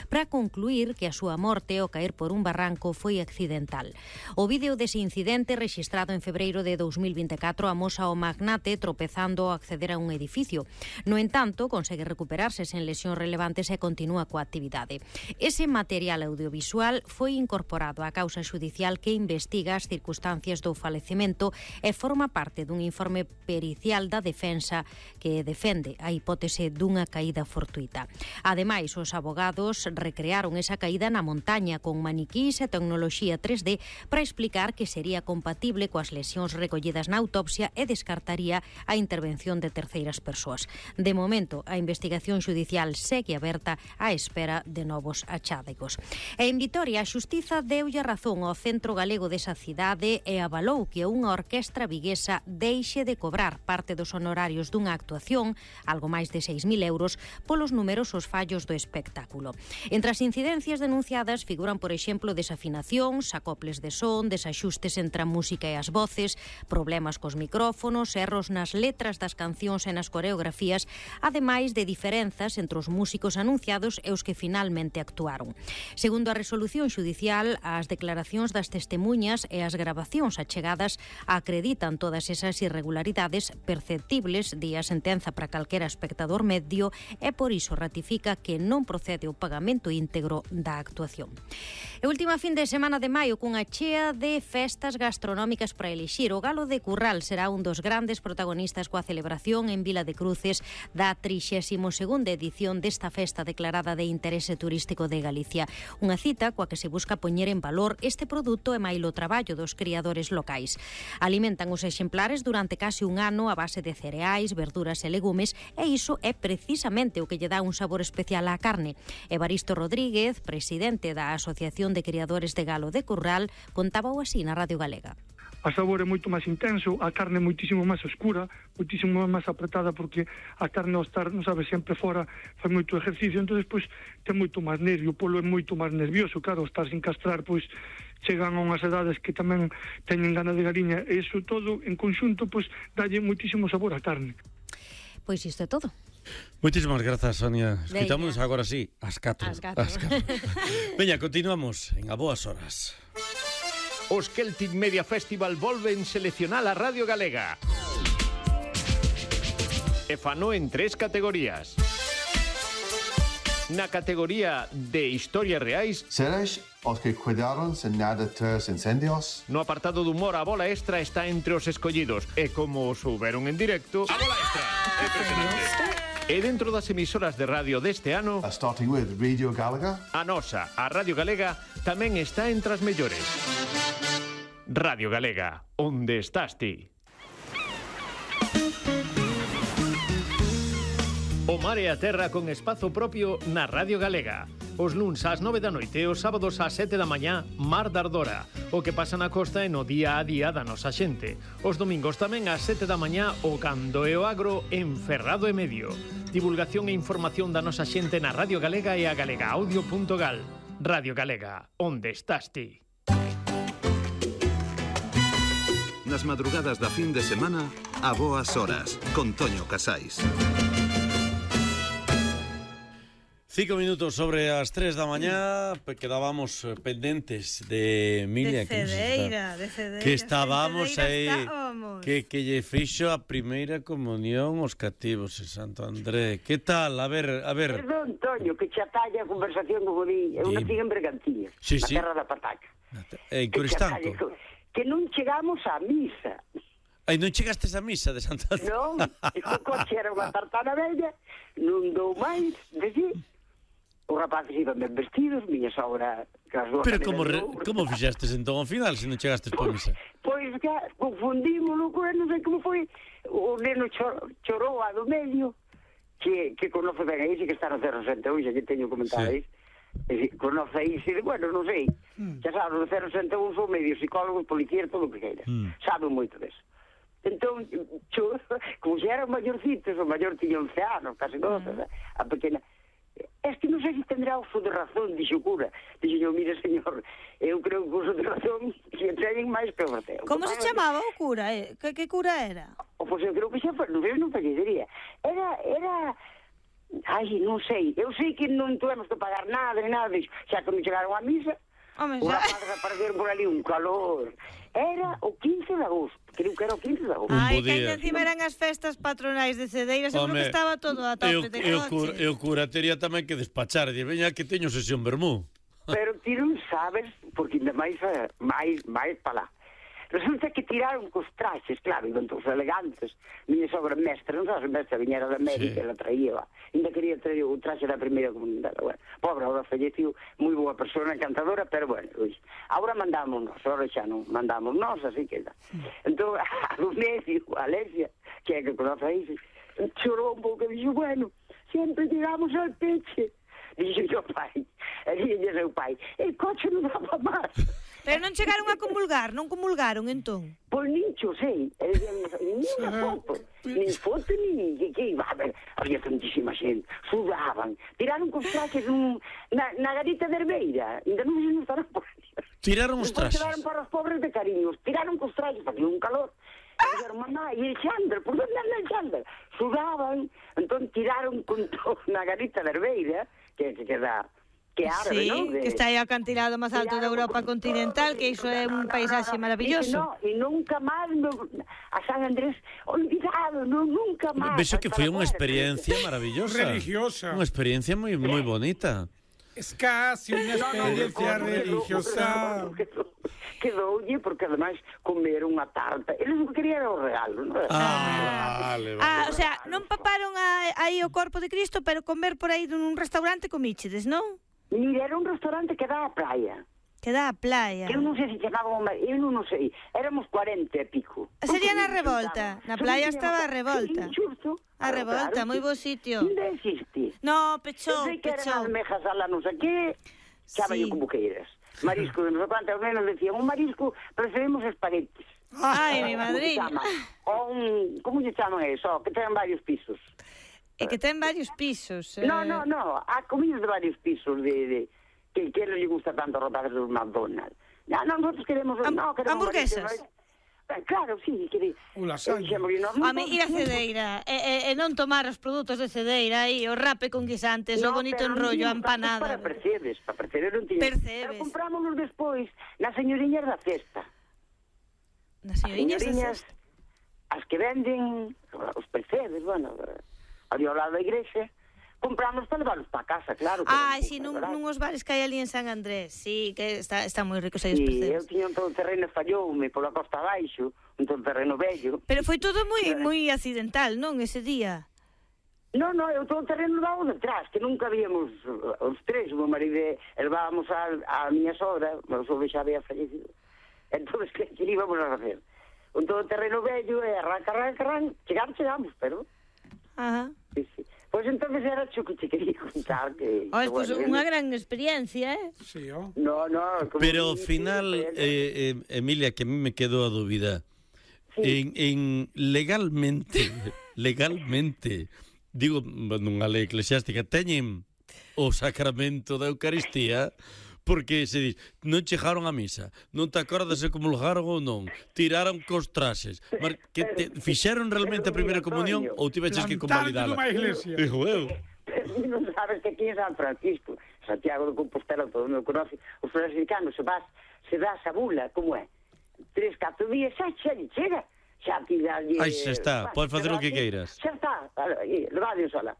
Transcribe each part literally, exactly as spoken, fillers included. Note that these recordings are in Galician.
para concluir que a súa morte ao caer por un barranco foi accidental. O vídeo dese incidente, rexistrado en febreiro de dous mil vinte e catro, amosa o magnate tropezando ao acceder a un edificio. No entanto, consegue recuperarse sen lesións relevantes e continúa coa actividade. Ese material audiovisual foi incorporado á causa xudicial que investiga as circunstancias do falecemento e forma parte dun informe pericial da defensa que defende a hipótese dunha caída fortuita. Ademais, os abogados recrearon esa caída na montaña con maniquís e tecnoloxía tres D para explicar que sería compatible coas lesións recollidas na autopsia e descartaría a intervención de terceiras persoas. De momento, a investigación xudicial segue aberta á espera de novos achádegos. E en Vitoria, a Xustiza deulle razón ao Centro Galego desa cidade e avalou que unha orquestra viguesa deixe de cobrar parte dos honorarios dunha actuación, algo máis de seis mil euros, polos numerosos fallos do espectáculo. Entre as incidencias denunciadas figuran, por exemplo, desafinacións, acoples de son, desaxustes entre a música e as voces, problemas cos micrófonos, erros nas letras das cancións e nas coreografías, ademais de diferenzas entre os músicos anunciados e os que finalmente actuaron. Segundo a resolución xudicial, as declaracións das testemuñas e as gravacións achegadas acreditan todas esas irregularidades perceptibles, di a sentenza para calquera espectador medio, e por iso ratifica que non procede o pagamento íntegro da actuación. E última fin de semana de maio cunha chea de festas gastronómicas para elixir. O Galo de Curral será un dos grandes protagonistas coa celebración en Vila de Cruces da trixésima segunda edición desta festa declarada de interese turístico de Galicia. Unha cita coa que se busca poñer en valor este produto e mailo traballo dos criadores locais. Alimentan os exemplares durante case un ano a base de cereais, verduras e legumes, e iso é precisamente o que lle dá un sabor especial á carne. Evaristo Rodríguez, presidente da Asociación de Criadores de Galo de Curral, contábao así na Radio Galega. A sabor é moito máis intenso, a carne é moitísimo máis oscura, moitísimo máis apretada, porque a carne ao estar, non sabe, sempre fora, fai moito exercicio, entón, pois, ten moito máis nervio, o polo é moito máis nervioso, claro, ao estar sin castrar, pois, chegan a unhas edades que tamén teñen gana de galiña, e iso todo, en conxunto, pois, dalle moitísimo sabor á carne. Pois isto é todo. Moitísimas grazas, Sonia. Escoitamos agora sí, ás catro. Ás catro. Veña, continuamos en A Boas Horas. Os Celtic Media Festival volven seleccionar a Radio Galega. E fano en tres categorías. Na categoría de historias reais, seres os que cuidaron sen nada tres incendios. No apartado de humor, a bola extra está entre os escollidos. E como souberon en directo, a bola extra é impresionante. E dentro das emisoras de radio deste ano, a starting with Radio Galega, a nosa, a Radio Galega, tamén está entre as mellores. Radio Galega, onde estás ti? O mar e a terra con espazo propio na Radio Galega. Os luns ás nove da noite e os sábados ás sete da mañá, Mar da Ardora. O que pasa na costa e no día a día da nosa xente. Os domingos tamén ás sete da mañá, o Cando e o Agro en Ferrado e Medio. Divulgación e información da nosa xente na Radio Galega e a galegaaudio punto gal. Radio Galega, onde estás ti? Nas madrugadas da fin de semana, A Boas Horas, con Toño Casais. Cinco minutos sobre as tres da mañá, quedábamos pendentes de Emilia, de Cedeira, que, de Cedeira, que estábamos aí, estábamos. que, que lle fixo a primeira comunión os cativos en Santo André. Que tal? A ver, a ver. Perdón, Toño, que che atalla a conversación do Godín. Eu nací en Bergantiñas, sí, na sí. terra da pataca. En Coristanco. Que non chegamos á misa. Ai, non chegastes á misa de Santo André? Non, o coche era unha tartana bella, non dou máis, de si. Os rapaces iban ben vestidos, miña sogra... Pero como, re, como fixastes entón ao final, se non chegastes por misa? Pois, que confundímolo, non sei como foi. O neno chor, chorou a do medio, que, que conoce ben aí, que está no cero sesenta e un, xa que teño comentado aí. Sí. Conoce aí, se, bueno, non sei. Mm. Xa sabes, no cero sesenta e un son medio psicólogos, policías, todo o que queira. Mm. Saben moito deso. Entón, chorou, como xa eran maiorcitos, o maior tiña once anos, casi doce, mm. a pequena... Es que non sei se tendrá uso de razón, dixo o cura. Dixo yo, mire, señor, eu creo que uso de razón que teñen máis que o verteo. Como se chamaba o cura? Eh? Que, que cura era? O, pois eu creo que xa foi, non sei, non fallicería. Era, era, Ai, non sei. Eu sei que non tuvemos que pagar nada, ni nada disso. Xa que me chegaron á misa, Home, unha xa. padre apareceron por ali un calor. Era o quince de agosto. Creo que era o quince de agosto. Un Ai, bo que día. ainda encima eran as festas patronais de Cedeira, seguro Home, que estaba todo a e o- tope de e o cura- coches. E o cura tería tamén que despachar. Dir, veña que teño sesión vermú. Pero ti non sabes, porque ainda máis, eh, máis, máis para lá. Resulta que tiraron cos traxes, claro, iban todos elegantes. Miña sogra mestra, non sabes, mestra viñera da América, Sí. ela traía, ainda quería traer o traxe da primeira comunidade. Bueno, pobre, ahora falleciu, moi boa persona, encantadora, pero bueno, ui, ahora mandamos nós, ahora xa non mandamos nós, así que... Entón, a do medio, a Alesia, que é que conoce aí, chorou un pouco e dixo, bueno, sempre llegamos al peche. Dixo o pai, e dixo o pai, el coche non daba máis. Pero non chegaron a comulgar, non comulgaron entón. Pois nin cho sei, e dicía, nin unha foto, nin foto, nin que, que iba a ver, había tantísima xente, sudaban, tiraron cos traxes un, na, na garita de Herbeira, ainda non se nos estarán por aí. Tiraron os Despois traxes. quedaron para os pobres de cariños, tiraron cos traxes, facía un calor, e dixeron, mamá, e el Xander, por onde anda el Xander? Sudaban, entón tiraron con todo na garita de Herbeira, que, que queda... que é árabe, Sí, non? De- que está aí o acantilado máis alto da Europa continental, que iso é un paisaxe maravilloso. E, no, e nunca máis no, a San Andrés olvidado, no, nunca máis. Vexo que foi unha Para experiencia maravillosa. Religiosa. Unha experiencia moi moi bonita. Es casi una experiencia religiosa. Quedou, quedoulle, porque ademais comer unha tarta. Eles non querían o regalo, non? Ah, vale, vale. Ah, o sea, non paparon a, aí o corpo de Cristo, pero comer por aí nun restaurante comíchedes, non? Mira, era un restaurante que dá a praia. Que dá a playa. Que eu non sei se chamaba o mar... Eu non, non sei. Éramos cuarenta e pico. Sería na Revolta. Na playa estaba a Revolta. Xusto. A Revolta, moi bo sitio. Ainda existe. No, Eu pechou, sei que eran pechou. as mejas a la non sei que, cháballe Sí. como queiras. Marisco de non sei cuánto, ao menos decían, un marisco, preferimos espaguetis. Ai, mi Como se madriña. chama? O un, como se chaman eso? Que ten varios pisos. E que ten varios pisos. eh. No, no, no, há comidas de varios pisos de, de que, que non lle gusta tanto rotar dos McDonald's. No, no, nosotros queremos... Ham- no, queremos hamburguesas. marisco, eh, claro, sí, que... O lasaña. Home, ir a Cedeira e, e, e non tomar os produtos de Cedeira aí, o rape con guisantes, o bonito enrollo, a empanada. Para Percebes, para Percebes non tiña. Percebes. Pero comprámonos despois nas señoriñas da cesta. Nas As señoriñas de señoriñas, cesta. as que venden os Percebes, bueno, ali ao lado da igrexa, compramos para levarlos para casa, claro. que Ai, non, si, nun, verdad? nun os bares que hai ali en San Andrés. Sí, que está, está moi ricos aí os Sí, eu percebes. tiña un todo terreno falloume pola costa abaixo, un todo terreno bello. Pero foi todo moi moi accidental, non, ese día? No, no, eu todo terreno levaba detrás, que nunca víamos uh, os tres, o meu marido e levábamos a, a miña sogra, o meu sogro xa había fallecido. Entón, que, que íbamos a facer? Un todo terreno bello, e arranca, arranca, arranca, chegamos, chegamos, pero... Ajá. Sí, sí. Pois pues entonces era cho que te quería contar que... Oh, que, pois bueno, unha eu- gran experiencia, eh? Sí, oh. No, no... como Pero ao dices, final, pero- eh, eh, Emilia, que a mí me quedou a dúbida. En, en legalmente, legalmente, digo, nunha lei eclesiástica, teñen o sacramento da Eucaristía, porque se dis, non chegaron a misa, non te acordas de como lugaron ou non, tiraron cos traxes, mar, que te, fixeron realmente a primeira comunión ou tiveches que Plantarte convalidala? nunha iglesia. Digo eu. Non sabes que aquí en San Francisco, Santiago de Compostela, todo mundo conoce, os franciscanos se vas, se dá esa bula, como é? Tres, catro días, xa, xa lle chega. Xa ti dalle... Aí xa está, podes facer o que queiras. Xa está, levade sola.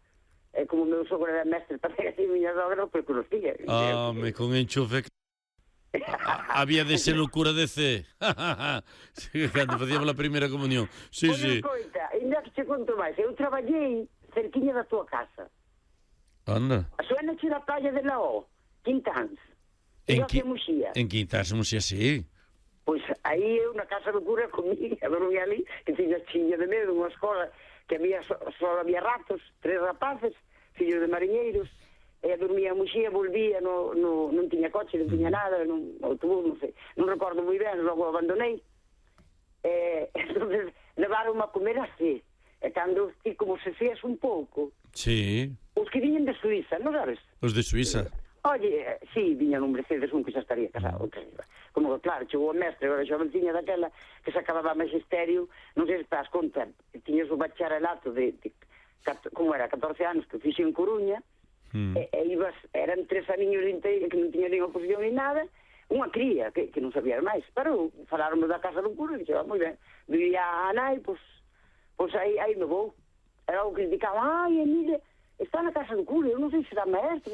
É como o meu sogro era mestre para que así miña sogra, pois conocía. Ah, me con enchufe. A- Había de ser locura de C. Sí, cando facíamos a primeira comunión. Sí, Pois sí. escoita, ainda que che conto máis, eu traballei cerquiña da tua casa. Anda. Suena che da playa de Laó, Quintáns. En, En qui... que Muxía. en Quintas, Muxía, sí. Pois aí eu na casa do cura comía, dormía ali, que tiña chiña de medo, unha escola que había só, só había ratos, tres rapaces, fillos de mariñeiros, e dormía en Muxía, volvía, no, no, non tiña coche, non tiña nada, non, autobús, non sei, non recordo moi ben, logo abandonei. E, entonces, levaron a comer así, e cando ti como se fías un pouco, Sí, os que viñen de Suiza, non sabes? os de Suiza. Oye, eh, sí, viñan un Mercedes, un que xa estaría casado, que, como que claro, chegou o mestre, agora xa venciña daquela, que se acababa magisterio, non sei se te das conta, tiñas o bacharelato de, de como era, catorce anos que fixe en Coruña, mm. e, e ibas, eran tres aniños inteiros que non tiña nin oposición ni nada, unha cría que, que non sabía máis, pero falaron da casa do cura e dixo, moi ben, vivía a nai, pois, pois aí, aí me vou. Era o que criticaban, ai, Emilia, está na casa do cura, eu non sei se será maestra,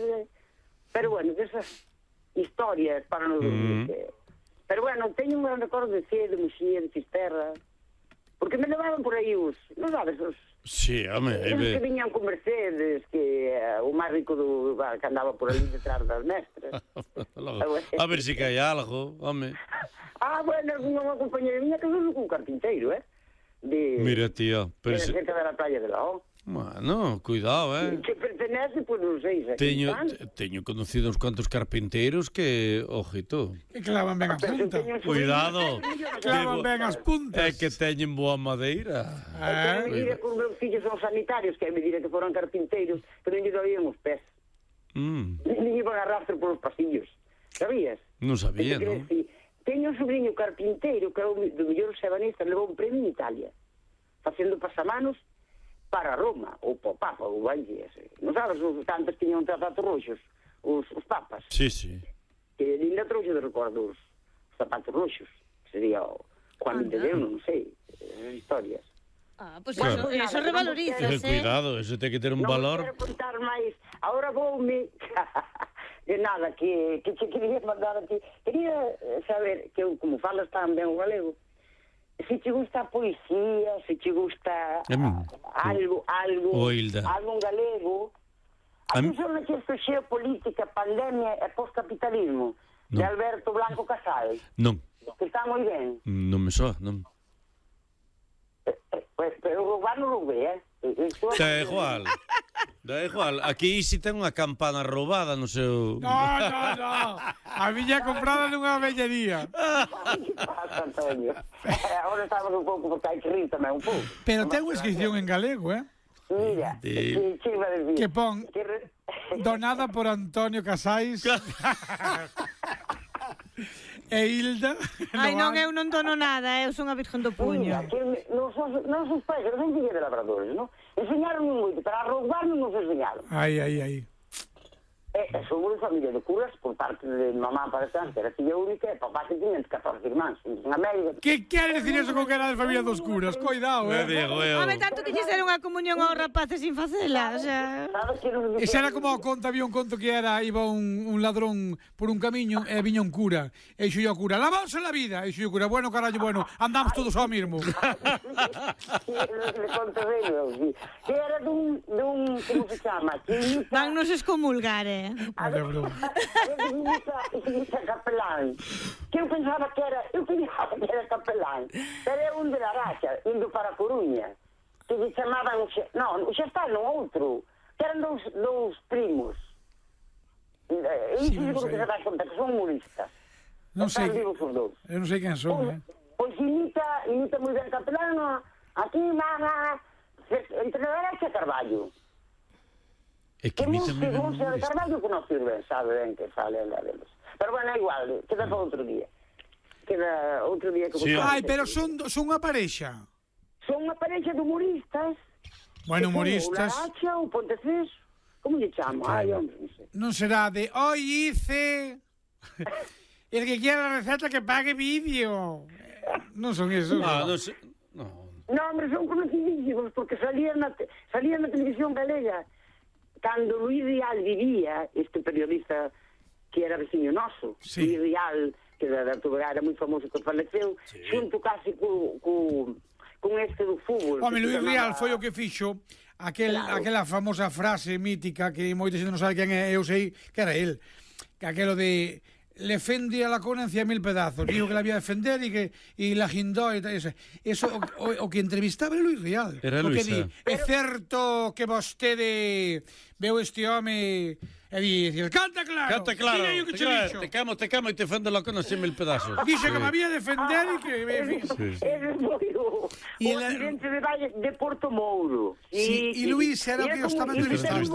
pero bueno, desas historias para non dormir. Mm. Pero bueno, teño un gran recordo de Cee, de Muxía, de Fisterra, porque me levaban por aí os, non sabes, os... Sí, home... Eles que viñan con Mercedes, que uh, o máis rico do, que andaba por ali detrás das mestras. A ver se si cae algo, home. Ah, bueno, unha compañera miña que foi con un carpinteiro, eh? De, mira, tío, pero... De cerca da playa de la O. Bueno, cuidado, eh. Que pertenece, pois non sei. Teño, teño conocido uns cuantos carpinteiros que, ojito. Que clavan ben as puntas. Cuidado. Clavan ben as puntas. É que teñen boa madeira. É que medida que os meus fillos son sanitarios, que é medida que foran carpinteiros, pero non lle doían os pés. Mm. Nem iban a rastro polos pasillos. Sabías? Non sabía, non? Teño un sobrinho carpinteiro que é o do mellor sebanista, levou un premio en Italia, facendo pasamanos para Roma, ou para o Papa, ou Valle, non sabes, os tantos tiñan zapatos roxos, os, os papas. Sí, sí. Que ainda trouxe de recordo os zapatos roxos, que sería o Juan de Deus, non sei, esas historias. Ah, pois pues claro. Eso, eso revalorizas, eh? Cuidado, eso ten que ter un non valor. Non quero contar máis, agora voume... de nada, que, que che quería mandar a ti. Quería saber, que eu, como falas tan ben o galego, se te gusta a poesía, se te gusta mm. algo, algo, Oilda. algo en galego. A ti son que isto xeopolítica, pandemia e postcapitalismo, no. De Alberto Blanco Casal. Non. Que está moi ben. Non me soa, non. Eh, eh, pues, pero o goberno non ve, eh? Da igual. Da igual. Aquí si ten unha campana roubada no seu... No, no, no. A miña comprada nunha vellería. Pasa, Antonio. Agora estamos un pouco, porque hai que rir tamén un pouco. Pero ten unha inscripción en galego, eh? Mira, sí. que, que iba a decir? Que pon donada por Antonio Casais. E Hilda. Ai, non, eu non dono nada, eu son a Virgen do Puño. Mira, que nos nosos pais, que son fillos de labradores, non? Enseñaron moito, para roubar non nos enseñaron. Ai, ai, ai. E, e somos de familia de curas, por parte de mamá para trás, que era filla única, e papá que tiñan catorce irmáns, unha médica. Que quere decir eso con que era de familia dos curas? Coidado, eh? Home, tanto que quixera unha comunión aos rapaces sin facela, o sea... Esa era como o conto, había un conto que era, iba un, un ladrón por un camiño e viña un cura. E xo o cura, la bolsa en la vida. E xo o cura, bueno, carallo, bueno, andamos todos ao mismo. Le conto de ellos, sí. Que era dun, dun, como se chama? Van nos excomulgar, eh? Vale, bro. Ese capelán. Que eu pensaba que era, eu pensaba que era capelán. Pero é un de la racha, indo para Coruña. Que se chamaban, non, xa está no outro. Que eran dous, dous primos. E sí, seguro que se dá conta que son humoristas. Non sei. Eu non sei quen son, eh. Pois imita, imita moi ben capelán. Aquí, mamá, entre la derecha e Carballo. É que imita moi ben. Que de Carballo conoce ben, sabe ben que sale a deles. Pero bueno, é igual, queda para outro día. Queda outro día que... Sí. Ai, pero son, son unha parexa. Son unha parexa de humoristas. Bueno, humoristas. O Laracha, o Pontecés, como lle chamo? Ai, hombre, non sei. Non será de, hoy hice... El que quiera la receta que pague vídeo. Non son esos. Ah, non sei... No. No, hombre, son conocidísimos, porque salían na, te... salían na televisión galega. Cando Luis Rial vivía, este periodista que era veciño noso, sí. Luis Rial, que da, da Tubera era moi famoso, que faleceu, sí. Xunto casi co, co, con este do fútbol. Home, Luis Rial foi o que fixo aquel, claro. Aquela famosa frase mítica que moita xente non sabe quen é, eu sei que era el, que aquelo de... le fende a la cona en cien mil pedazos, dijo que la había de defender y que y la guindó y tal, eso, eso o, o, o que entrevistaba era Luis Rial. Era Luis. Di, é certo que vostede veu este home e di, canta claro. Canta claro. Te, claro te camo, te camo e te fende la cona en cien mil pedazos. Dice sí. Que me había de defender ah, y que... Sí, sí. Ese foi o, o accidente de Valle de Porto Mouro. Sí, y, y Luis era o que eu estaba entrevistando.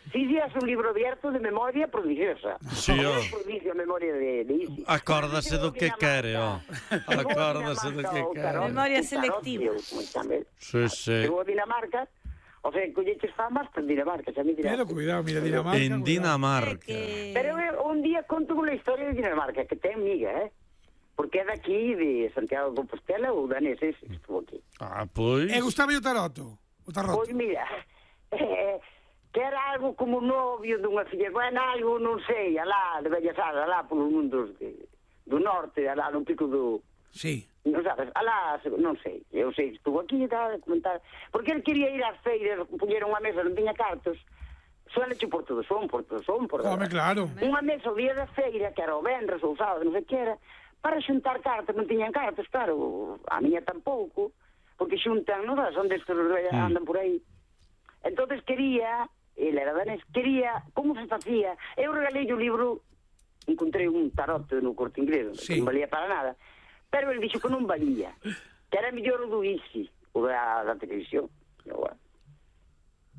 Si días un libro abierto de memoria prodigiosa. Sí, oh. Prodigio memoria de, de Isi. Acórdase do que quere, oh. Acórdase do que quere. Memoria selectiva. Sí, sí. Chegou a Dinamarca, O sea, colleches famas por Dinamarca, xa me dirás. Pero cuidado, mira, Dinamarca. En Dinamarca. Que... Pero eh, un día conto unha historia de Dinamarca, que ten miga, eh? Porque é daqui, de Santiago de Compostela, ou danés, ese que estuvo aquí. Ah, pois... E gustaba o taroto? O taroto? Pois mira, eh, que era algo como novio dunha filla, bueno, algo, non sei, alá, de Bellas Artes, alá polos mundos de, do norte, alá no pico do... Sí. Non sabes, alá, non sei, eu sei que estuvo aquí e tal, a comentar, porque ele quería ir ás feiras, puñeron unha mesa, non tiña cartos, suele che por todo son, por todo son, por... Home, claro. Unha mesa o día da feira, que era o venres ou sábado, non sei que era, para xuntar cartas, non tiñan cartas, claro, a miña tampouco, porque xuntan, non sabes, onde estes andan por aí. Entonces quería, ele era danés, quería, como se facía, eu regalei o libro, encontrei un tarot no Corte Inglés, sí, que non valía para nada, pero ele dixo que non valía, que era mellor o do Easy, o da, da televisión.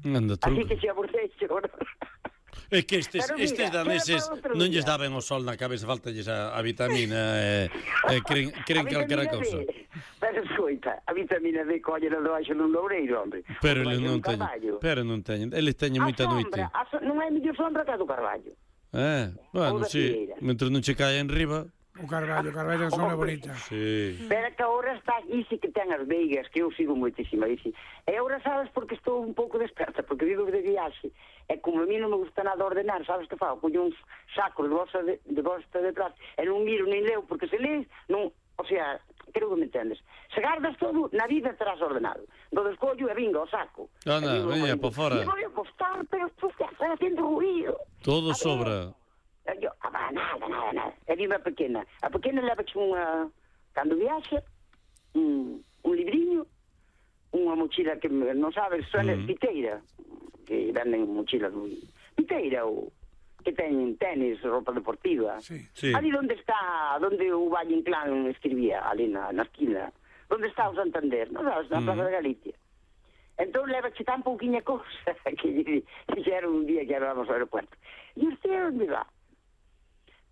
Anda, así que se aborrece, ¿no? É que estes, Pero mira, estes daneses non lles día. daben o sol na cabeza, faltalles a, a vitamina, e, e creen, creen A calquera vitamina cousa. D. Pero escoita, a vitamina D colle no debaixo nun loureiro, hombre. Pero Debaixo eles non dun teñen, carballo. pero non teñen, eles teñen moita A noite. sombra, a so, non é mellor sombra que a do carballo. Eh, bueno, Ou da sí, figueira. mentre non che cae en riba. O carballo, o carballo é unha bonita. Sí. Pero que agora está aquí sí que ten as veigas, que eu sigo moitísima aí sí. E agora sabes porque estou un pouco desperta, porque vivo de viaxe. E como a mí non me gusta nada ordenar, sabes que fago? Collo uns sacos de bosta de, de bosta detrás, e non miro nin leo, porque se lees, non, o sea, creo que me entendes. Se gardas todo, na vida terás ordenado. Do descollo e vinga, o saco. Anda, veña, por fora. E vou a postar, pero tú estás facendo ruido. Todo sobra. Eu, ah, nada, nada, nada. E dime a pequena. A pequena leva unha, cando viaxa, un, un libriño, unha mochila que non sabes, suena mm. piteira, que venden mochilas moi... Piteira, ou que teñen tenis, roupa deportiva. Sí. Sí. Ali onde está, onde o Valle Inclán escribía, ali na, na esquina, onde está o Santander, non sabes, na mm. Plaza de Galicia. Entón leva che tan pouquinha cousa que lle dixeron un día que íbamos ao aeropuerto. E usted onde va?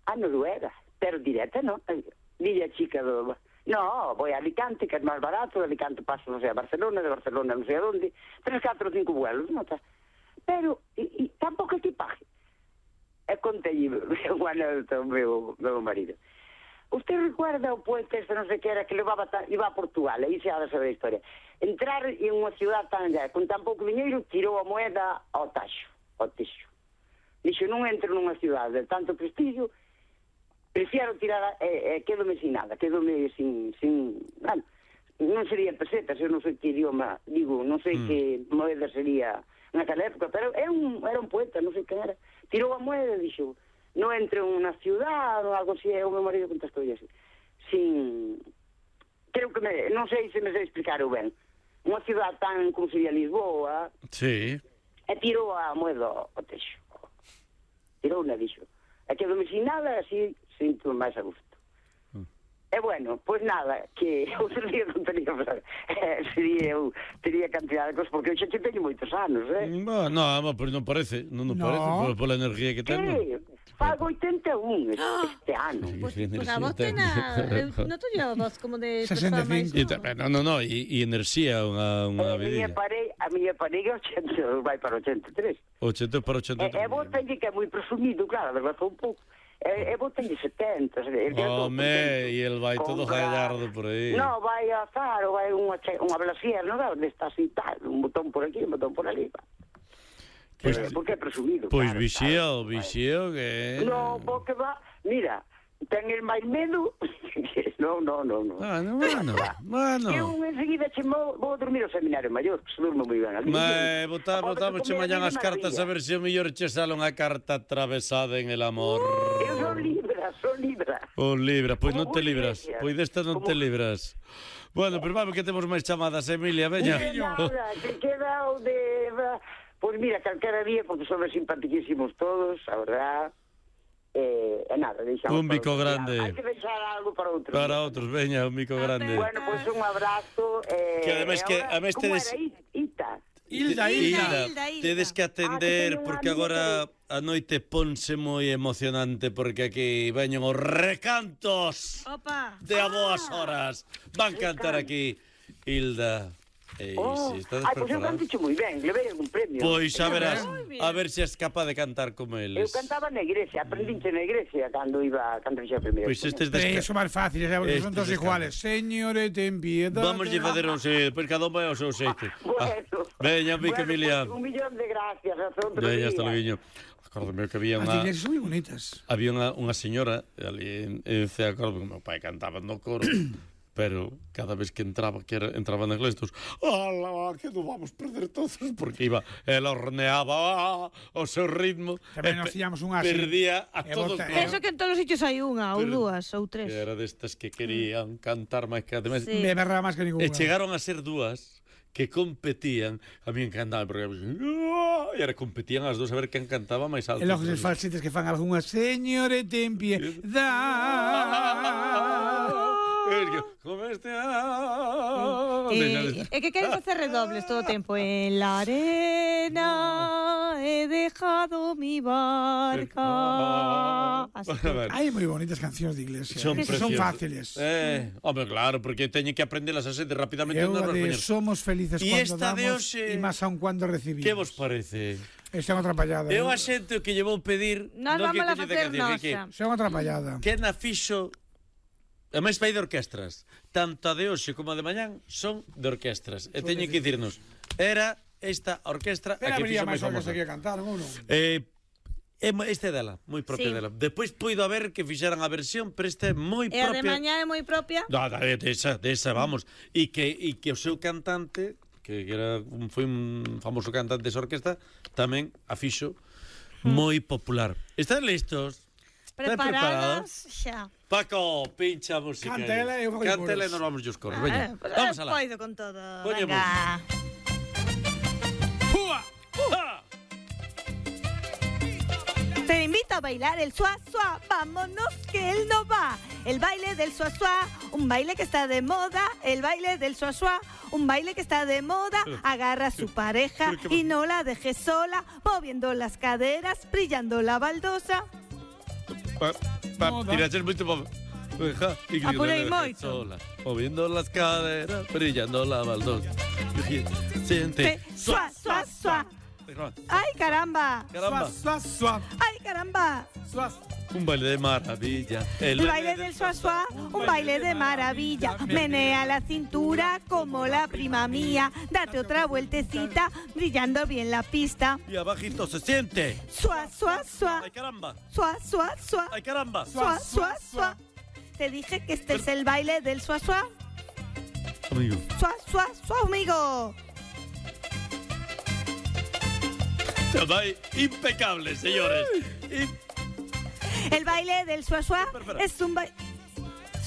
A Noruega, pero directa, ¿no? Dile a chica do... No, voy a Alicante, que es más barato, de Alicante paso, no sé, a Barcelona, de Barcelona no sé a dónde, tres, cuatro, cinco vuelos, ¿no? Pero, y, y tampoco equipaje. E contei unha anécdota ao meu, meu marido. Usted recuerda o poeta este non sei que era que levaba ta, iba a Portugal, aí se ha de saber a historia. Entrar en unha ciudad tan allá, con tan pouco diñeiro, tirou a moeda ao taxo, ao tixo. Dixo, non entro nunha ciudade de tanto prestigio, prefiero tirar, eh, eh, quedome sin nada, quedome sin, sin, bueno, non sería pesetas, eu non sei que idioma, digo, non sei mm. que moeda sería naquela época, pero era un, era un poeta, non sei quen era, tirou a moeda e dixo, non entre unha ciudad ou algo así, e o meu marido contestou así, sin, creo que me, non sei se me sei explicar o ben, unha ciudad tan como sería Lisboa, sí, e tirou a moeda ao texo, tirou unha, dixo, e quedome sin nada, así, sinto máis a gusto. Mm. E bueno, pois pues nada, que outro día non tería, eh, sería eu, tería cantidad de cosas, porque eu xa te teño moitos anos, eh? No, no, pero non parece, non nos No. parece, por, por la energía que ten. Que? Fago oitenta e un este, este ano. Pues, pues a voz ten a... Non te lleva voz como de... sesenta e cinco. E, no, no, no, e, e enerxía unha, unha a miña vidilla. pare, a miña parella oitenta, vai para oitenta e tres. ochenta para ochenta e E, tres. e vos teñe que é moi presumido, claro, adelgazou un pouco. E, e vos teñe setenta. Home, e el vai todo gallardo por aí. No, vai a Zaro, vai unha, unha blasier, non é? Onde está así tal, un botón por aquí, un botón por ali. Pois, eh, porque é presumido. Pois claro, vixío, claro, vixío que... No, porque va, mira, ten el máis medo. No, no, no, no. Ah, no, bueno, bueno. Eu enseguida che vou, vou dormir ao seminario maior, que se durmo moi ben ali. Ma, botá, botamos che mañan as cartas a ver se o mellor che sale unha carta atravesada en el amor. Eu son libra, son libra. Oh, libra, pois non Como te vos libras, decías. pois desta non te Como- libras. Bueno, pero vamos que temos máis chamadas, Emilia, veña. Que nada, que queda o de... Pois mira, calquera día, porque son simpaticísimos todos, a verdad. Eh, e nada, deixamos... Un para bico outro día. grande. Hai que deixar algo para outro. Para outros, veña, un mico grande. Bueno, pois un abrazo. Eh, Que ademais que- ahora, a mes como tedes- era? Ita. Hilda, Hilda. Hilda, Hilda. Tedes que atender Ah, que teño porque unha amiga agora a noite ponse moi emocionante porque aquí veñen os recantos Opa. de a boas horas. Van cantar aquí Hilda Eh, Oh, si estades ai, pois eu preparados. canto moi ben, levei un premio. Pois xa verás, Moi bien. a ver se és capaz de cantar como Eu eles. cantaba na igrexa, aprendinche na igrexa cando iba, cando fixe a primeira. Pois estes das Eh, son máis fáciles, eh, porque son Estes todos escapan. iguales. Señores, ten piedad. Vamos a facer un xe, pois cada un vai ao seu xeito. Ah, Bueno, veña, pica bueno, Emiliano. pues, un millón de gracias, hasta outro Veña, día. hasta logo. Acórdame que había As unha iglesias son moi bonitas. había unha, unha señora ali en, en Cea, acordo que meu pai cantaba no coro, pero cada vez que entraba, que era, entraba na iglesia, todos, ala, que non vamos perder todos, porque iba, ela horneaba o seu ritmo, Tamén e nos pe- tiñamos unha así. perdía a E todos. bota- coro. Penso que en todos os sitios hai unha, ou Pero- dúas, ou tres. Que era destas que querían cantar máis que ademais. Sí. Me berra máis que ninguna. E chegaron a ser dúas que competían, a mí encantaba, porque e era competían as dúas a ver quen cantaba máis alto. E logo os falsetes que fan algunha señores, ten piedad. Como este... Eh, é que queren facer redobles todo o tempo. En la arena he dejado mi barca. Así que- Hai moi bonitas cancións de iglesia. Son eh, que son preciosas. fáciles. Eh, home, claro, porque teñen que aprendelas a xente rapidamente. Eu non a de recoñer. somos felices E cuando esta de damos hoxe- e máis aun cuando recibimos. Que vos parece? Esta é unha atrapallada. Eu eh. a xente o que lle vou pedir... Nós non que vamos a coñece facer canción, é que, nosa. Esta é unha atrapallada. que na fixo... A máis vai de orquestras. Tanto a de hoxe como a de mañán son de orquestras. E teñen que dicirnos, era esta orquestra a Pero que habría fixo máis máis orquestas famosa. que cantar, ou non? Eh, é mo- este é dela, moi propia Sí. dela. Despois poido haber que fixeran a versión, pero esta é moi E a de propia. mañá é moi propia. No, de, de esa, de esa, vamos. E que, e que o seu cantante, que era un, foi un famoso cantante desa orquesta, tamén a fixo moi popular. Están listos? Están preparados? Preparadas xa. Paco, pincha a música. Cantela e eu fago Cantela e coros. nos vamos os coros. Ah, Veña, pues, vamos eh, alá. Poido con todo. Poñemos. Venga. Púa! Ah, Te invito a bailar el suá suá, vámonos que él no va. El baile del suá suá, un baile que está de moda. El baile del suá suá, un baile que está de moda. Agarra a su pareja y no la dejes sola, moviendo las caderas, brillando la baldosa. pa, pa, Moda. tiraches moito pa... Deja, y que Apurei la dejes moito. sola, moviendo las caderas, brillando la baldosa. Siente. Te- Suá suá suá. Ay caramba, Caramba. Suá, suá, ay caramba. suá. Un baile de maravilla. El baile del suá suá, un baile de maravilla. Menea la cintura como la prima mía. Date otra vueltecita, brillando bien la pista. Y abajito se siente. Suá suá suá, Ay, caramba. suá suá suá, Ay, caramba. suá suá suá. Te dije que este es el baile del suá suá. Amigo. Suá suá suá, amigo. Vai impecable, señores. Y... El baile del suá suá es un baile.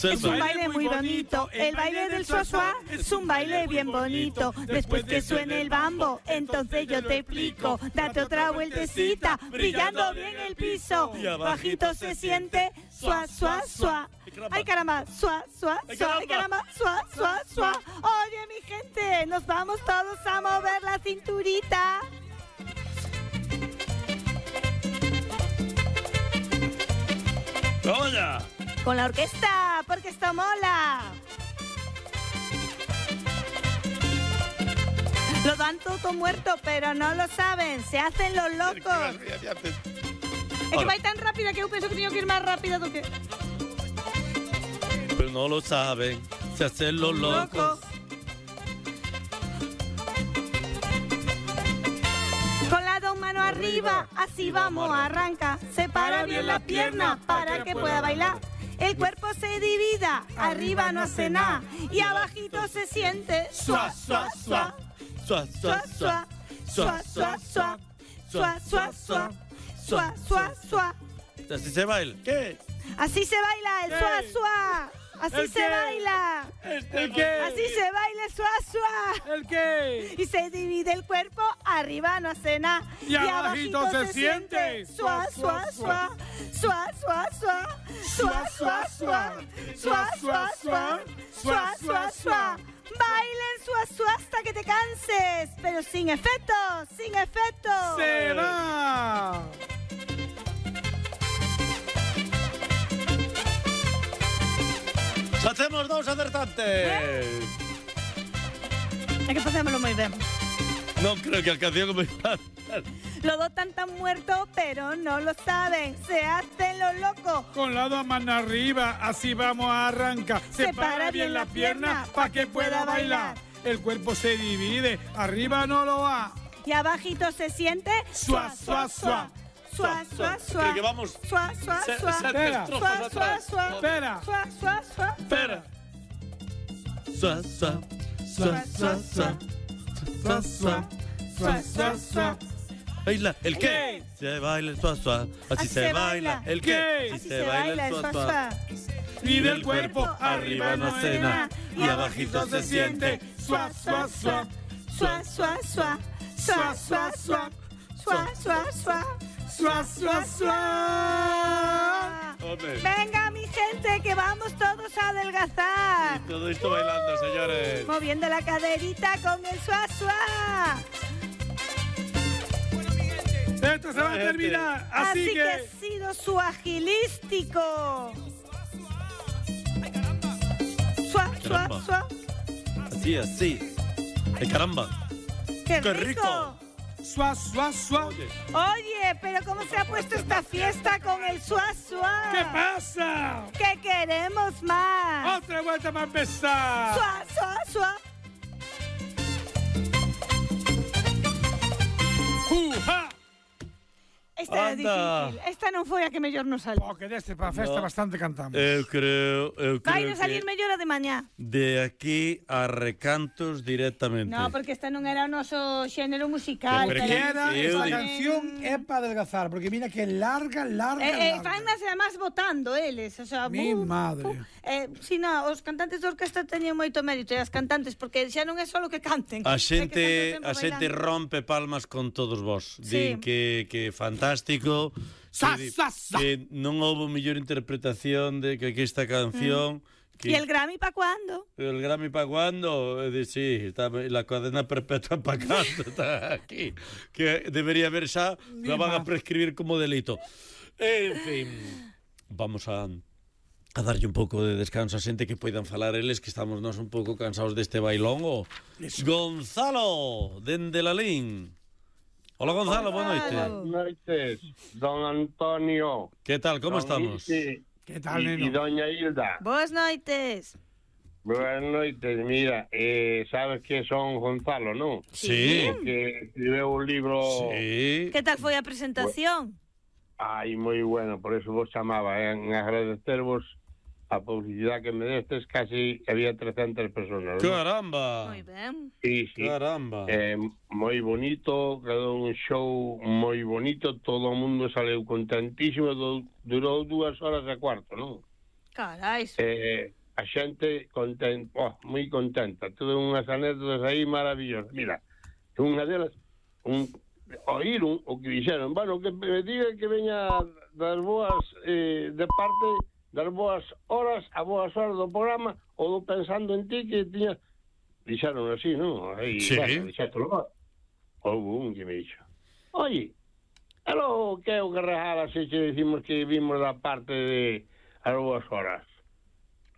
Es un baile muy bonito, el baile del suá suá es un baile bien bonito. Después que suene el bambo, entonces yo te explico. Date otra vueltecita, brillando bien el piso. Bajito se siente, suá suá suá. Ay caramba, suá suá suá, ay caramba, suá suá suá. Oye mi gente, nos vamos todos a mover la cinturita. ¡Vamos ya! Con la orquesta, porque esto mola. Lo dan todo muerto, pero no lo saben. Se hacen los locos. Es que va tan rápida que yo pienso que tengo que ir más rápido do que... Pero no lo saben. Se hacen los locos. Con la dos manos arriba, así vamos, arranca. Separa bien la pierna para que pueda bailar. El cuerpo se divida, arriba no hace nada. Y abajito se siente suá, suá, suá. Suá, Suá, suá, suá, suá, suá. Suá, suá, suá. Suá, suá, suá. Así se baila. ¿Qué? Así se baila el suá, suá. Así ¿El se qué? baila. ¿El qué? Así se baila el suá, suá. ¿El qué? Y se divide el cuerpo, arriba no hace nada. Y abajito se siente. Suá, suá, suá. Suá, suá, suá. Suá, suá, suá. Suá, suá, suá. Suá, suá, suá. Bailen suá, suá hasta que te canses. Pero sin efecto, sin efecto. Se va. ¡Facemos dos acertantes! É que facémolo moi ben. Non creo que a canción me Los dos tan tan muertos, pero no lo saben. Se hacen los locos. Con la dos mano arriba, así vamos a arrancar. Separa bien la pierna para que pueda bailar. El cuerpo se divide, arriba no lo va. Y abajito se siente. Suá, suá, suá. Suá, suá, suá. Creo que vamos. Suá, suá, Se- suá. sete Espera. estrofas Suá, suá, atrás. suá. Espera. Suá, suá, suá. Espera. Suá, suá, suá, suá, suá. Suá, suá. Suá, suá, suá. Baila el qué. Se baila el suá, suá. Así se baila el qué. Así se baila el suá, suá. Y del cuerpo arriba no cena. Y abajito se siente. Suá, suá, suá. Suá, suá, suá. Suá, suá, suá. Suá, suá, suá. Suá, suá, suá. Hombre. Venga, mi gente, que vamos todos a adelgazar. Todo esto bailando, señores. Moviendo la caderita con el suá, suá. Esto se va a Gente. terminar. Así, Así que que... ha sido su agilístico. Suá, suá, Caramba. suá. Así, así. Ay, caramba. ¡Qué ¡Qué rico! rico! Suá, suá, suá. Oye, pero ¿cómo se ha puesto esta fiesta con el suá, suá? ¿Qué pasa? ¡Que queremos más! Otra vuelta para empezar. ¡Suá, suá, suá! ¡Uja! Esta era Anda. difícil. Esta non foi a que mellor nos salió. Oh, que deste para a festa No. bastante cantamos. Eu creo, eu Vai creo nos salir que mellor a de mañá. de aquí a recantos directamente. No, porque esta non era o noso xénero musical. Pero Que que era, eu esta digo- canción é para adelgazar, porque mira que larga, larga, Eh, eh, larga. fannas además votando eles, o sea, Mi bu, madre. bu. Eh, si no, os cantantes de orquesta teñen moito mérito e as cantantes, porque xa non é só que canten. A é que xente, están todo o a tempo xente bailando. rompe palmas con todos vos. Sí. Din que que fantástico. Sa, que, di- sa, sa. que non houbo mellor interpretación de que, que esta canción. Que ¿Y el Grammy para cuándo? el Grammy para cuándo? Eh, di, sí, está la cadena perpetua para cando está aquí. Que debería haber xa, la van a prescribir como delito. En fin, vamos a a darlle un pouco de descanso a xente que poidan falar eles, que estamos nós un pouco cansados deste bailón. O Gonzalo, dende Lalín. Hola Gonzalo, boa noite. Gonzalo. Noites, don Antonio. Que tal, como don estamos? Isi, Que tal, y, neno? y doña Hilda. Boas noites. Buenas noites, mira, eh, sabes que son Gonzalo, non? Sí. Que escribeu un libro... Sí. Que tal foi a presentación? Ai, moi bueno, por eso vos chamaba, eh, en agradecervos a publicidade que me destes, casi había trescentas personas. ¿no? Caramba. Moi ben. Sí, sí. Caramba. Eh, moi bonito, quedou un show moi bonito, todo o mundo saleu contentísimo, do, durou dúas horas e cuarto, non? Carais. Eh, a xente contenta, oh, moi contenta, tuve unhas anécdotas aí maravillosas. Mira, unha delas, un, oíron o que dixeron, bueno, que me diga que veña das boas, eh, de parte das boas horas, a boas horas do programa, ou do Pensando en Ti, que tiña... Dixeron así, non? Aí, Sí. bueno, dixétolo. Houve un que me dixo, oye, elo que é o que regala se che decimos que vimos da parte de as boas horas?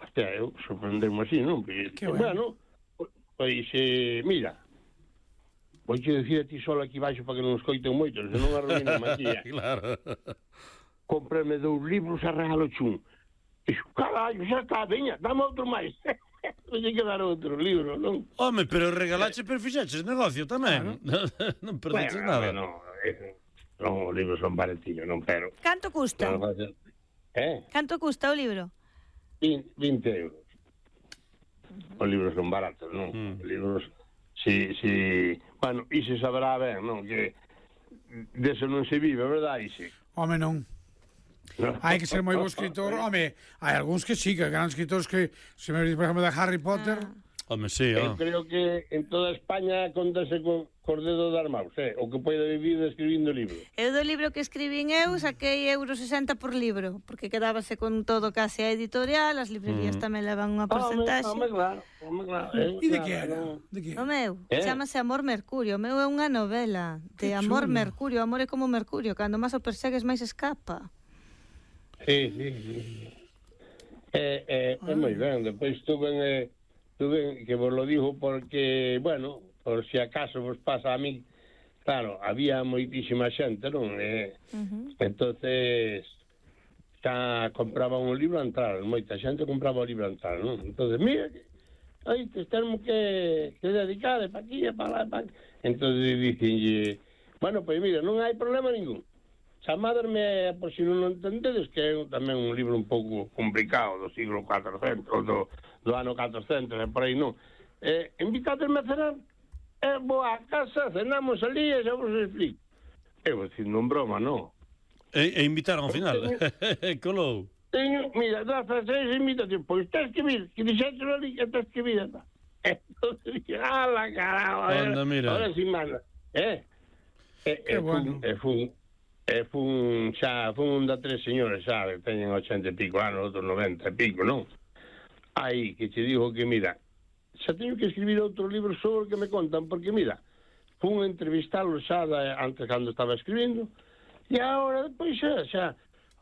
Hostia, eu sorprendemos así, non? Porque, Que bueno. bueno, pois, eh, mira, vou che dicir a ti solo aquí baixo para que non escoiten moito, senón arruiname aquí. eh. Claro. Comprame dous libros a regalo chun. Dixo, carallo, xa está, veña, dame outro máis. Vou que dar outro libro, non? Home, pero regalache, pero fixaches negocio tamén. Non perdeches nada. Bueno, eh, non, os libros son baratillos, non, pero... Canto custa? non faz- Eh? Canto custa o libro? vinte euros. Os libros son baratos, non? Mm. Os libros, si, si... Bueno, e se saberá ben, non? Que deso non se vive, verdad, Isi? Home, non. No. Hai que ser moi bo escritor. Home, hai algúns que sí, que gran escritores que, se me diz, por exemplo, de Harry Potter... Home, sí, Eu oh. creo que en toda España contase con cos dedos das maus, eh? O que pode vivir escribindo libros. Eu do libro que escribín eu saquei euro sesenta por libro, porque quedábase con todo case a editorial, as librerías Mm. tamén levan unha Home, porcentaxe. home, claro, home, claro. Eh, E de claro, que era? non. De que? O meu, Eh? chamase Amor Mercurio. O meu é unha novela de Que Amor chulo. Mercurio. Amor é como Mercurio, cando máis o persegues máis escapa. Sí, sí, sí. Eh, eh, é moi ben, depois estuve en... Eh, tuve que vos lo digo porque, bueno, por si acaso vos pasa a mí, claro, había moitísima xente, non? Eh, uh-huh. Entonces, xa compraba un libro a entrar, moita xente compraba un libro a entrar, non? Entonces, mira, aí te temos que, que dedicar para aquí e para lá, para... Entonces, dicen, bueno, pois pues mira, non hai problema ningún. Chamadme, por si non o entendedes, que é tamén un libro un pouco complicado do siglo cuatrocentos, do, do ano catrocentos, e por aí non. Eh, invitadme a cenar, e vou a casa, cenamos ali e xa vos explico. E vos dicindo en broma, non? E, e invitaron ao final. Colou. Teño, mira, das seis invitacións, pois tens que vir, que dixetes ali que tens que vir. Entonces dije, ala, caramba, Anda, mira. Ahora sí manda. Eh? E, e, bueno. e fun, e fun, xa, fun da tres señores, xa, que teñen ochenta e pico anos, outros noventa e pico, non? Aí, que che digo que, mira, xa teño que escribir outro libro sobre o que me contan, porque, mira, fun a entrevistarlo xa da, antes cando estaba escribindo, e agora, depois xa, xa,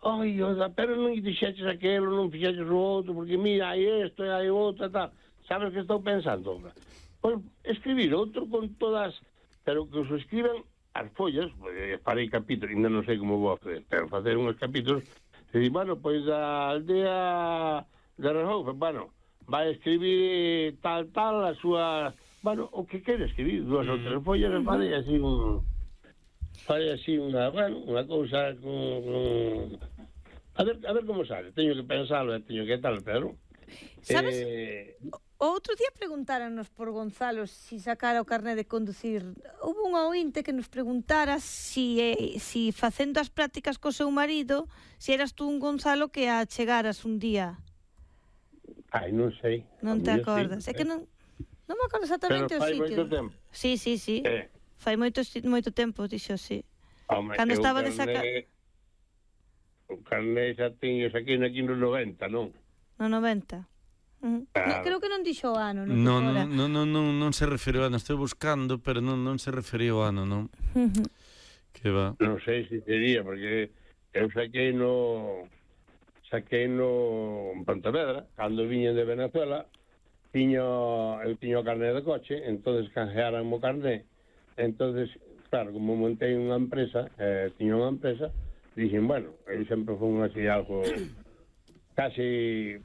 ai, oda, pero non dixeches aquelo, non fixeches o outro, porque, mira, hai isto, hai outro, tal. Sabes que estou pensando? Pois, escribir outro con todas, pero que os escriban as follas, farei capítulos, ainda non sei como vou facer, pero facer uns capítulos, e di, bueno, pois a aldea de Rejoufe, bueno, vai escribir tal, tal, a súa, bueno, o que quere escribir, dúas ou tres follas, e farei así un, farei así unha, bueno, unha cousa con, con... A ver, a ver como sale, teño que pensalo, e teño que tal, pero... Sabes, eh... o outro día preguntáranos por Gonzalo si sacara o carné de conducir. Houve un ointe que nos preguntara si, eh, si facendo as prácticas co seu marido, si eras tú un Gonzalo que a chegaras un día. Ai, non sei. Non te acordas? Sí, é que non, non me acordo exactamente o sitio. Pero fai moito tempo. Sí, sí, sí. Eh. Fai moito, moito tempo, dixo, sí. Home, cando estaba de sacar... O carné xa tiñes aquí aquí no noventa, non? No noventa. Uh-huh. No, Claro. creo que non dixo o ano, non? Non, non, non, non, non, non se referiu ao ano, estou buscando, pero non, non se referiu ao ano, non? Uh-huh. Que va. Non sei se sería, porque eu saquei no... saquei no en Pontevedra, cando viñen de Venezuela, tiño, eu tiño o carné de coche, entonces canjearan o carné, entonces, claro, como montei unha empresa, eh, tiño unha empresa, dixen, bueno, eu sempre fui así algo casi...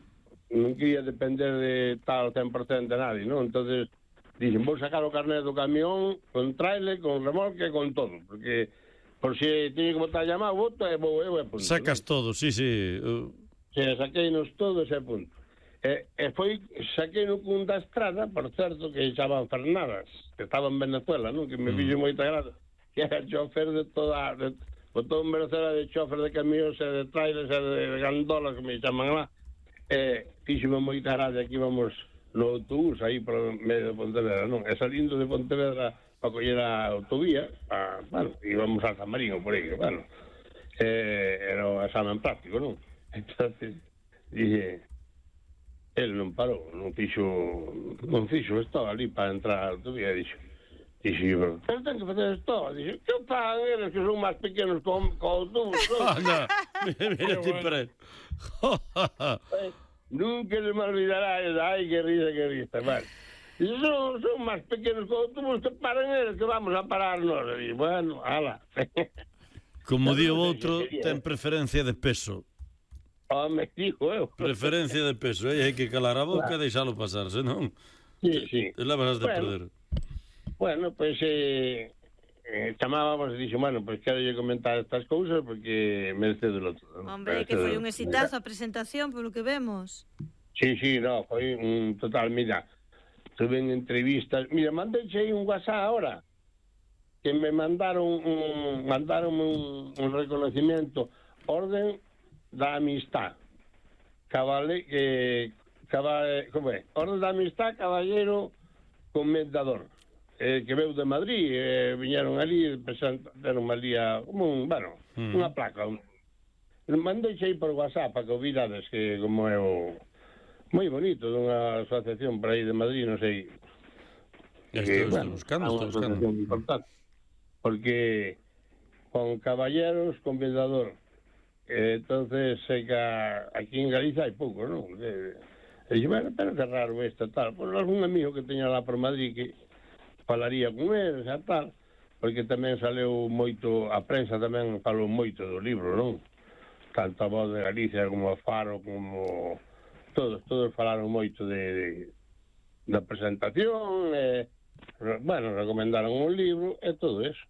non quería depender de tal cen por cento de nadie, non? Entonces, dixen, vou sacar o carnet do camión con trailer, con remolque, con todo, porque por si teño que botar llamado, boto e vou eu e punto. Sacas ¿no? todo, sí, sí. Uh... Se saqueinos todos e punto. E, e foi, saqueino cun da estrada, por certo, que chaman Fernadas, que estaba en Venezuela, non? Que me mm. fixo moita gracia, que era chofer de toda... De, botou en Venezuela de chofer de camións e de trailers e de gandolas, que me chaman lá. Eh, fíxome moita gracia que íbamos no autobús aí por medio de Pontevedra, non? E salindo de Pontevedra para coller a autovía, a, bueno, íbamos a San Marino por aí, bueno, eh, era o examen práctico, non? Entonces, dije, el non parou, non fixo, non fixo, estaba ali para entrar a autovía, dixo, dixo, pero, pero ten que facer esto, dixo, que pagan eles que son máis pequenos co, co autobús, non? Anda, mira ti para Nunca se me olvidará eso. Ay, qué risa, qué risa. Vale. Son, son más pequeños que autobús que paran eles, que vamos a pararnos. Y bueno, ala. Como di o outro, ten preferencia de peso. Home, dijo eu. Preferencia de peso, eh? Hai que calar a boca e deixalo pasar, senón... Sí, sí. La vas a bueno, perder. Bueno, pues... Eh... Eh, chamábamos e dixo, bueno, pois pues, quero lle comentar estas cousas porque merece do outro. Hombre, que foi un exitazo a presentación, polo que vemos. Sí, sí, no, foi un total, mira, tuve en entrevistas, mira, mandei aí un WhatsApp ahora, que me mandaron un, mandaron un, un reconocimiento, Orden da Amistad, cabale, eh, cabale, como é? Orden da Amistad, caballero comendador. Eh, que veu de Madrid, eh, viñeron ali e presentaron ali a, como un, bueno, mm. unha placa. Un, mandei aí por WhatsApp para que o virades, que como é o moi bonito, dunha asociación por aí de Madrid, non sei. Estou, estou bueno, buscando, estou buscando. Importante, porque con caballeros, con vendador. Eh, entonces, sei que aquí en Galicia hai pouco, non? Eh, E dixo, bueno, pero que raro isto, tal. Pois algún amigo que teña lá por Madrid que falaría con eles e tal, porque tamén saleu moito, a prensa tamén falou moito do libro, non? Tanto a Voz de Galicia como a Faro, como todos, todos falaron moito de, de da presentación, e, bueno, recomendaron un libro e todo eso.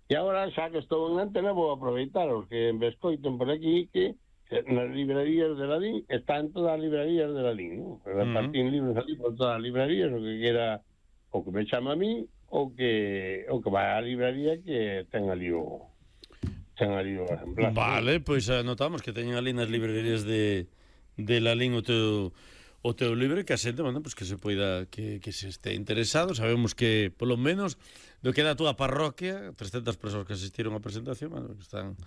E agora, xa que estou en antena, vou aproveitar os que me escoiten por aquí, que nas librerías de Lalín, están todas as librerías de Lalín, ¿no? Repartín uh-huh. libros aquí por todas as librerías, o que quera, o que me chama a mí, o que o que vai á librería que ten ali o ten ali o ejemplar. Vale, pois pues anotamos que teñen ali nas librerías de, de Lalín o teu o teu libro, que a xente, bueno, pues que se poida, que, que se este interesado. Sabemos que, polo menos, do que da a túa parroquia, trescentas persoas que asistiron á presentación, bueno, que están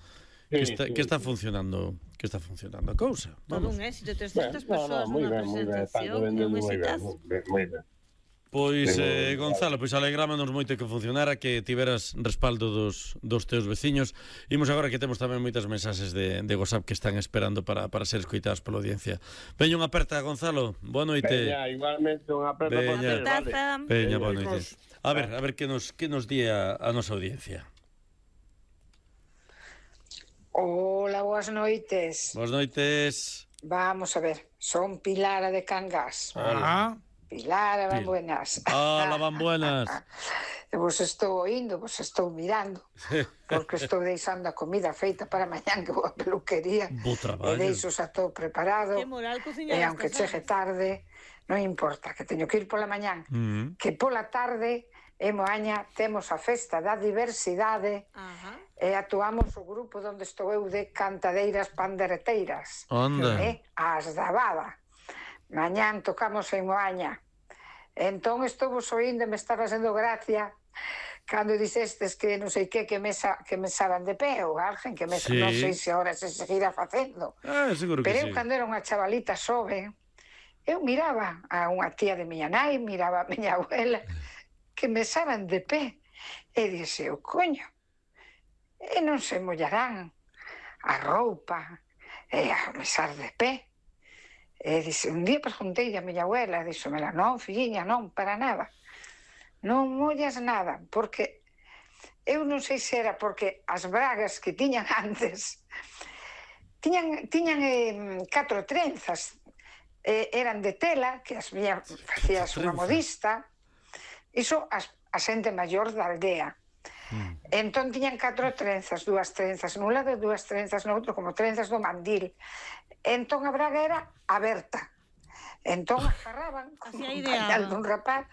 que está, que está funcionando que está funcionando a cousa. Todo un éxito, trescentas persoas nunha presentación, é un exitazo. Moi ben. Pois, eh, Gonzalo, pois alegrámonos moito que funcionara, que tiveras respaldo dos, dos teus veciños. Imos agora que temos tamén moitas mensaxes de, de WhatsApp que están esperando para, para ser escoitadas pola audiencia. Veña unha aperta, Gonzalo. Boa noite. Veña, igualmente unha aperta. Veña, vale. Veña, boa noite. A ver, a ver que nos, que nos di a, a nosa audiencia. Hola, boas noites. Boas noites. Vamos a ver, son Pilara de Cangas. Hola. Pilara, van buenas. Hola, van buenas. Vos estou oindo, vos estou mirando, porque estou deixando a comida feita para mañán que vou a peluquería. Bo traballo. E deixo xa todo preparado. Que moral cociñar. E aunque chegue tarde, non importa, que teño que ir pola mañán. Mm. Que pola tarde, en Moaña, temos a festa da diversidade. Ajá. E actuamos o grupo onde estou eu de cantadeiras pandereteiras. Onda. Eh, as da Bada. Mañán tocamos en Moaña. Entón estou vos oindo e me estaba sendo gracia cando dixestes que non sei que que mesa que mesaban de pé ou alguén que mesa, sí. Non sei se agora se seguirá facendo. Ah, seguro que Pero sí. eu cando era unha chavalita xoven, eu miraba a unha tía de miña nai, miraba a miña abuela que mesaban de pé e dixe, o coño, e non se mollarán a roupa e a mesar de pé. E dixe, un día preguntei a miña abuela, dixomela, non, filliña, non, para nada. Non mollas nada, porque eu non sei se era porque as bragas que tiñan antes tiñan, tiñan eh, catro trenzas, eh, eran de tela, que as miña facías unha modista, iso as, a xente maior da aldea. Mm. Entón tiñan catro trenzas, dúas trenzas nun lado e dúas trenzas no outro, como trenzas do mandil. Entón a braga era aberta. Entón agarraban como un pañal dun rapaz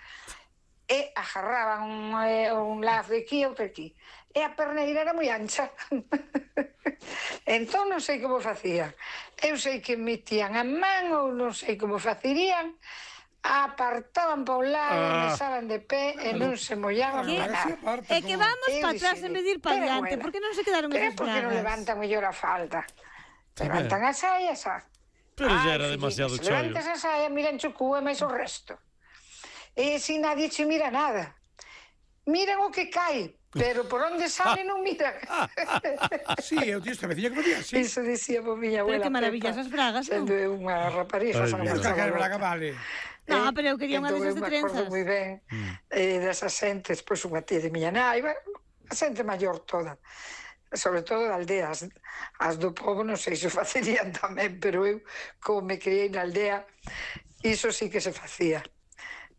e agarraban un, eh, un lazo de aquí e outro aquí. E a perneira era moi ancha. Entón non sei como facía. Eu sei que metían a man ou non sei como facirían, apartaban para un lado, ah. mesaban de pé e non se mollaban para nada. É que vamos para atrás en vez de ir para adiante. Por que non se quedaron esas bragas? Porque non levantan mellor a falda. Levantan a saia, xa. Pero xa era demasiado chollo. Levantas a saia, miran o cu e máis o resto. E si nadie che mira nada. Miran o que cae, pero por onde sale non miran. Sí, eu tío, esta vecina que me día, sí. Iso dicía por miña abuela. Pero que maravillas as bragas, non? Sendo unha rapariga. Esta que braga vale. No, pero eu quería unha desas de trenzas. Entón, eu me acordo moi ben eh, desas xentes, pois unha tía de miña nai, a xente maior toda, sobre todo de aldeas. As do povo non sei se o facerían tamén, pero eu, como me criei na aldea, iso sí que se facía.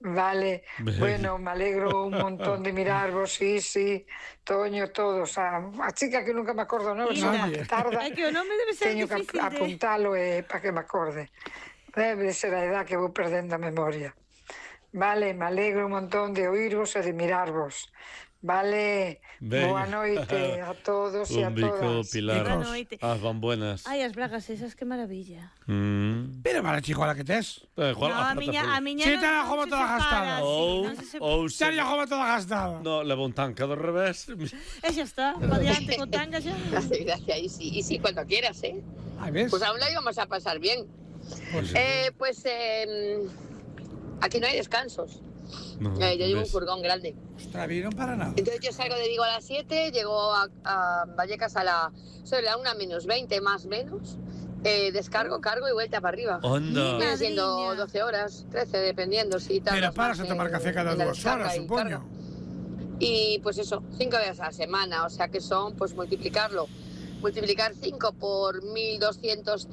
Vale, bueno, me alegro un montón de mirarvos, sí, sí, Toño, todos, a, a chica que nunca me acordo, non? Son que tarda, é que o nome debe ser teño difícil que apuntalo eh, para que me acorde. Debe de ser a edad que vou perdendo a memoria. Vale, me alegro un montón de oírvos e de mirarvos. Vale, ben. Boa noite a todos e a todas. Un bico, Pilar. As van buenas. Ai, as bragas esas, que maravilla. Mm. Pero mala chico, la que tes. Eh, no, a miña, a miña si, non, non, non toda gastada. Ou, ou se... Xa jova toda gastada. No, leva un tanca do revés. E xa está, pa diante con tanga xa. Gracias, y sí, y sí, cuando quieras, ¿eh? Ahí ves. Pues aún lo íbamos a pasar bien. Pues, eh, pues eh, aquí no hay descansos. No, eh, yo llevo un furgón grande. Ostras, no para nada. Entonces yo salgo de Vigo a las siete, llego a, a Vallecas a la sobre la una menos veinte, más o menos. Eh, descargo, cargo y vuelta para arriba. Onda. Viene siendo doce horas, trece, dependiendo si tal. Pero paras a tomar café cada dos horas, supongo. Y pues eso, cinco veces a la semana, o sea que son, pues multiplicarlo. Multiplicar cinco por mil doscientos